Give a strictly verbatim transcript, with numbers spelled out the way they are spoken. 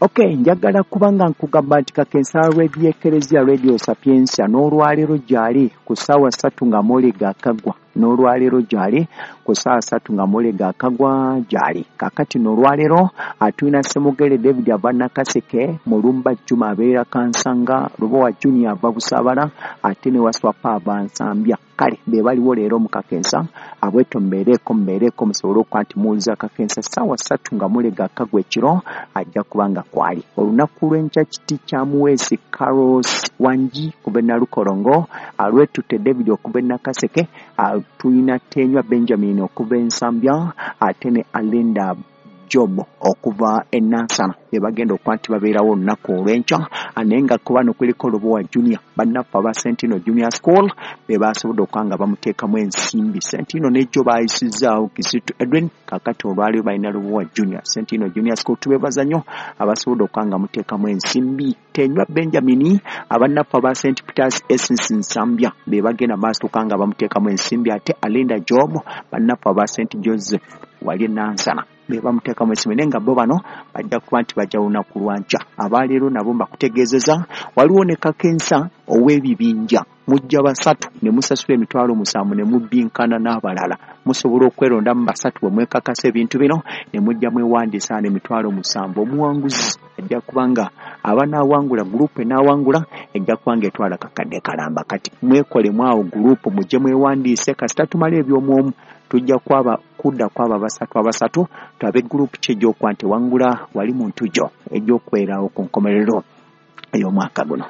Okay, njagala kubanga nkugamba nti Kakensa Radio Ekereziya Radio Sapientia n'olwaleero gyali ku ssaawa ssatu nga mole gakagwa, n'olwaleero gyali ku ssaawa ssatu nga mole gakagwa gyali. Kakati n'olwaleero atulina Ssemugere David ava Nakaseke, Mulumba Juma abeera Kansanga, Lubowa Junior ava Busaabala, ate ne Waswapa ava Nsambya. Kale be baliwo leero mu Kakensa, abweto mbeereko mbeereko musobole okuba nti muwuliza Kakensa ssaawa ssatu nga mole gakagwa ekiro, ajja kuba nga kwali. Olunaku lw'enkya kiti kya Muweesi Carlos Wangi kuva e Nalukolongo, Alwetutte David okuva e Nakaseke, tulina Tenywa Benjamin okuva e Nsambya, ate ne Alinda Job okuva e Nansana be bagenda okuba nti babeerawo olunaku olw'enkya. Naye nga ku bano kuliko Lubowa Junior, bannaffe aba Sentino Junior School be basobodde okuba nga bamuteekamu ensimbi. Sentino n'ejjo baayisizzaawo Kisitu Edwin, kaakati olwaleero balina Lubowa Junior. Sentino Junior School tubeebaza nnyo abasobodde okuba nga muteekamu ensimbi. Tenywa Benjamin, abannaffe aba Saint Peters Essence Nsambya be bagenda maaso okuba nga bamuteekamu ensimbi, ate Alinda Job, bannaffe aba Saint Joseph wali e Nansana be bamuteekamu ensimbi. Naye nga bo bano bajja kuba nti bajja lunaku lwa nkya. Abaleero nabo mbakutegeezeza waliwo ne Kakensa ow'ebibinja, mujja basatu ne musasula emitwalo musanvu ne mubbinkana n'abalala. Musobola okwerondamu basatu bwe mwekakasa ebintu bino ne mujja mwewandiisa n'emitwalo musanvu. Omuwanguzi ajja kuba nga abanaawangula gurupu enaawangula ejja kuba nga etwala kakadde kalamba. Kati mwekolemu awo gurupu mujje mwewandiise, kasita tumala eby'omwomu tujja kwaba kudda kwaba basatu abasatu twabe gurupu ki ejj'okuba nti ewangula wali mu ntujjo ejj'okwerawo ku nkomerero ey'omwaka guno.